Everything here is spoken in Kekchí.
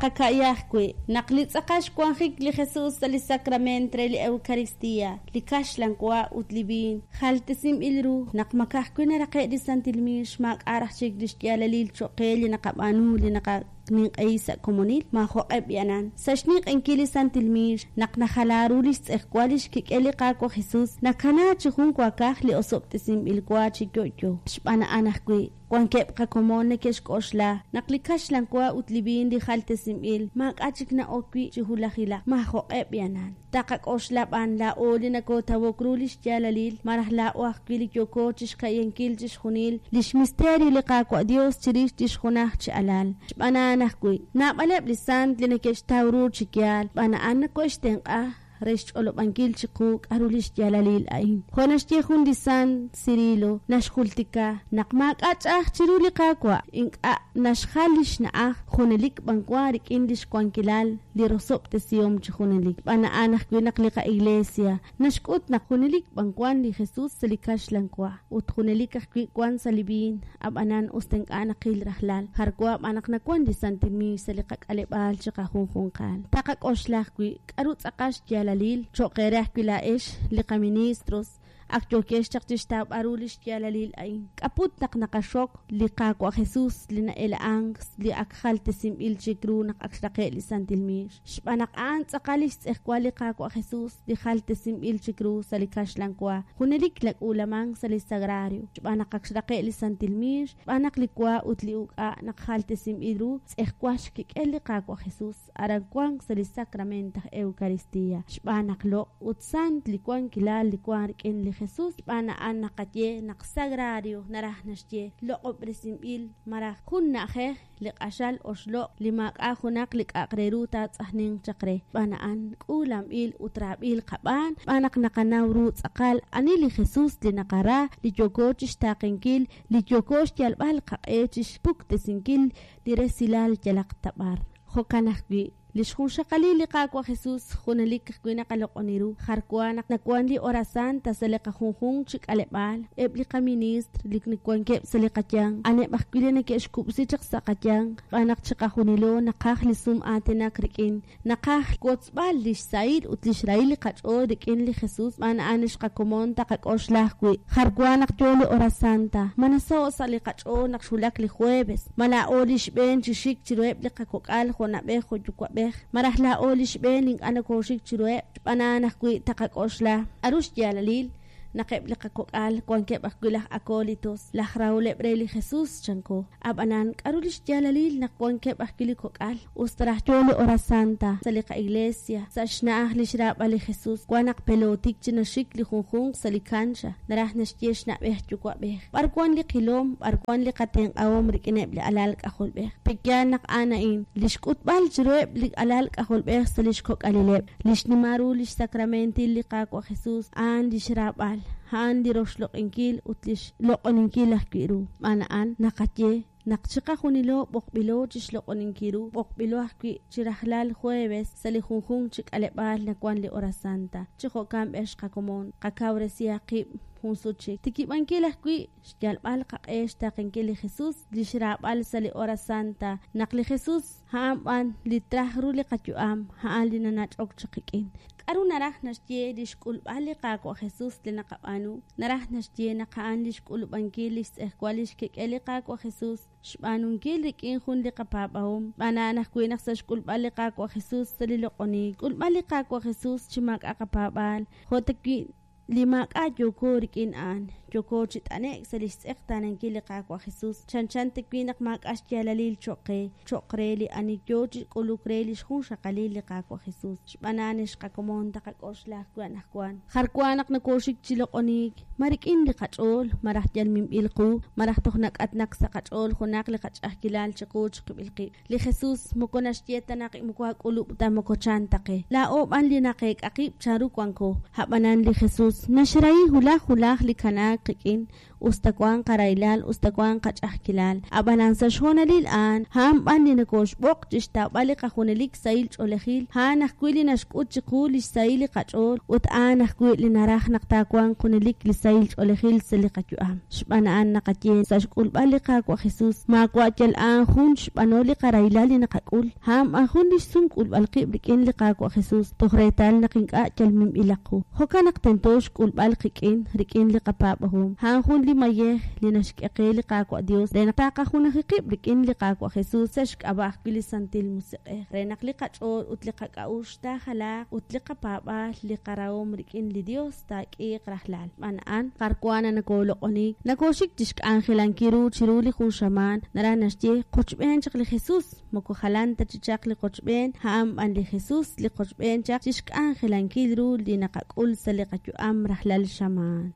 Taqaka'ya ajwi' naq li tz'aqal xwanjik li Jesus sa' li sakrament re li Eukaristia, li kaxlan wa ut li viin jaltesinb'il ru, naq ma ka'ajwi' naraqe' li santil miix maak'a' raj chik lix yaalalil choq' qe li naqab'aanu li naqaninq'ehi sa' komonil? Maajo'q'e b'i'anan. Sa' xninq'ehinkil li santil miix, naq najala ru lix tz'ejwal lix kik'el li Qaawa' Jesus, nakana chi jun waakaj li osob'tesinb'il wa chi yo'yo. Xb'aan a'an ajwi', Wankeb' qakomon neke'xk'oxla naq li kaxlan wa ut li viin li jaltesinb'il maak'a' chik na'ok wi' chi hulajilaq. Maajo'q'e b'i'anan. Taqak'oxla b'an laa'o li nokootawok ru lix yaalalil, malaj laa'o ajwi' li yooko chixka'yankil chixjunil lix misterio li Qaawa' Dios chirix lix junaj chi Alal. Xb'aan a'an ajwi', naab'aleb' li sant li neke'xtaw ru chi yaal, xb'aan a'an nokohe'xtenq'a re xch'olob'ankil chiqu k'a'ru lix yaalalil a'in. Jo' naxye jun li sant, Cirilo, naxjultika naq maak'a' ch'a'aj chiru li Qaawa', ink'a' naxjal lix na'aj, junelik b'an wan rik'in lix wankilal li rosob'tesihom chi junelik. Xb'aan a'an ajwi' naq li qaIglesia naxk'ut naq junelik b'an wan li Jesus sa' li kaxlan wa, ut junelik ajwi' wan sa' li viin, Ab'anan, us ta ink'a' naqil rajlal, jar wa b'an naq nawan li santil miix sa' li qak'aleb'aal chiqajunjunqal. Taqak'oxla ajwi' k'a'ru tz'aqal xyaalalil cho'q eere ajwi' laa'ex, li qaministros, ak yookex chaq chixtawb'al ru lix yaalalil a'in. K'a'put naq naqaxok li Qaawa' Jesus li na'ela'ank li ak jaltesinb'il chik ru naq ak xraqe' li santil miix? Xb'aan naq a'an tz'aqal lix tz'ejwal li Qaawa' Jesus li jaltesinb'il chik ru sa' li kaxlan wa, junelik nak'uulamank sa' li sagrario, xb'aan naq ak xraqe' li santil miix, xb'aan naq li wa ut li uk'a' naq jaltesinb'il ru, tz'ejwal xkik'el li Qaawa' Jesus, aran wank sa' li sakrament aj Eukaristia, xb'aan naq loq' ut sant li wankilal li wank rik'in li Jesus, xb'aan a'an naqaye naq sagrario naraj naxye loq'ob'resinb'il malaj jun na'ajej li q'axal oxloq' li maak'a' junaq li k'a'aq re ru taatz'ajninq chaq re. Xb'aan a'an k'uulanb'il ut raab'il qab'aan, xb'aan naq naqanaw ru tz'aqal ani li Jesus li naqara, li yooko chixtaaqenkil, li yooko xyalb'al qaq'e chixpuktesinkil li resilal yalaq ta b'ar. Jo'kan ajwi', li xjunxaqalil li Qaawa' Jesus junelik ajwi' naqaloq'oni ru. Jar wa naq nawank li Hora Santa sa' li qajunjunq chi k'aleb'aal, eb' li qaministr li wankeb' sa' li qayanq, a'aneb' ajwi' li neke'xkub'si chaq sa' qayanq, xb'aan naq chiqajunilo naqaj li sum aatinak rik'in, naqaj xwotzb'al lix sahil ut lix rahil li qach'ool rik'in li Jesus, xb'aan a'an lix qakomon taqak'oxla ajwi'. Jar wa naq yoo li Hora Santa, ma nasaho' sa' li qach'ool naq xwulak li jueves, Ma laa'o li xb'een chi xik chiruheb' li qakok'al jo' na'b'ej jo' yuwa'b'ej, malaj laa'o li xb'een li ink'a' nokooxik chiruheb'? Xb'aan a'an ajwi' taqak'oxla k'a'ru xyaalalil naq eb' li qakok'al wankeb' ajwi' laj acólitos, laj raholeb' re li Jesus, chanko. A'b'anan, k'a'ru lix yaalalil naq wankeb' ajwi' li kok'al? Us ta raj yoo li Hora Santa sa' li qa'iglesia, sa' xna'aj lix raab'al li Jesus, wan naq pelootik chi naxik li junjunq sa' li cancha, naraj naxye xna'b'ej yuwa'b'ej. B'ar wan li qilom, b'ar wan li qatenq'ahom rik'ineb' li alal k'ajolb'ej? Pe'yaal naq a'an a'in, lix k'utb'al chiruheb' li alal k'ajolb'ej sa' lix kok'alileb', li xnimal ru lix sakramentil li Qaawa' Jesus, a'an lix raab'al, a'an li roxloq'inkil ut lix loq'oninkil ajwi' ru. Xb'aan a'an, naqaye naq chiqajunilo b'oqb'ilo chixloq'oninkil ru, b'oqb'ilo ajwi' chi rajlal jueves sa' li junjunq chi k'aleb'aal nawan li Hora Santa. Chi jo'kan b'ex qakomon, qakawresihaq qib' jun sut chik. Xtikib'ankil ajwi' xyalb'al qaq'e xtaaqenkil li Jesus, lix raab'al sa' li Hora Santa, naq li Jesus a'an b'an li traj ru li qayu'am, a'an li nanach'ok chaq qik'in. K'a'ru naraj naxye li xk'ulb'al li Qaawa' Jesus li naqab'aanu? Naraj naxye naq a'an li xk'ulub'ankil lix tz'ejwal lix kik'el li Qaawa' Jesus, xb'aanunkil rik'in jun li qapaab'ahom. Xb'aan a'an ajwi' naq sa' xk'ulb'al li Qaawa' Jesus sa' li loq'oniik, xk'ulb'al li Qaawa' Jesus chi maak'a' qapaab'aal, jo' ta wi' Li maak'a' yooko rik'in a'an, yooko chi t'ane'k sa' lix tz'eqtaanankil li Qaawa' Jesus, chanchan ta wi' naq maak'a' xyaalalil choq' qe, choq' re li ani yoo chi k'uluk re lix junxaqalil li Qaawa' Jesus. Xb'aan a'an ex qakomon taqak'oxla ajwi' anajwan. Jar wa naq nokoxik chi loq'oniik, ma rik'in li qach'ool, malaj yal minb'il qu, malaj toj nak'atnak sa' qach'ool junaq li qach'a'ajkilal chiqu chiqib'il qib'. Li Jesus moko naxye ta naq moko aak'ulub' ta moko chan ta qe. Laa'o b'an li naqeek'a qib' chanru wanko. A'b'anan li Jesus naxrahi wulaj wulaj li kanaak. qik'in, us ta wank qarahilal, us ta wank qach'a'ajkilal. Ab'anan sa' xhoonalil a'an, a'an b'an li nokooxb'oq chi xtawb'al li qajunelik sahil ch'oolejil, a'an ajwi' li naxk'ut chiqu li xsahil li qach'ool ut a'an ajwi' li naraj naq taawanq junelik li sahil ch'oolejil sa' li qayu'am. Xb'aan a'an naqaye sa' xk'ulb'al li Qaawa' Jesus, maawa' yal a'an jun xb'anol li qarahilal li naqak'ul, a'an b'an jun li xsum k'ulb'al qib' rik'in li Qaawa' Jesus, toj reetal naq ink'a' yal minb'ilaq qu. Jo'kan naq tento xk'ulb'al qik'in, rik'in li qapaab'ahom. A'an jun li mayej li naxk'e qe li Qaawa' Dios re naq taqajunaji qib' rik'in li Qaawa' Jesus sa' xk'ab'a' ajwi' li Santil Musiq'ej, re naq li qach'ool ut li qak'a'uxl taajalaaq ut li qapaab'aal, li qarahom rik'in li Dios taak'iiq rajlal. Xb'aan a'an, jar wan nakoloq'onik, nakoxik chixk'anjelankil ru chiru li jun xamaan, naraj naxye qochb'een chaq li Jesus, moko jalan ta chi chaq li qochb'een, a'an b'an li Jesus li qochb'een chaq chixk'anjelankil ru li naqak'ul sa' li qayu'am rajlal xamaan.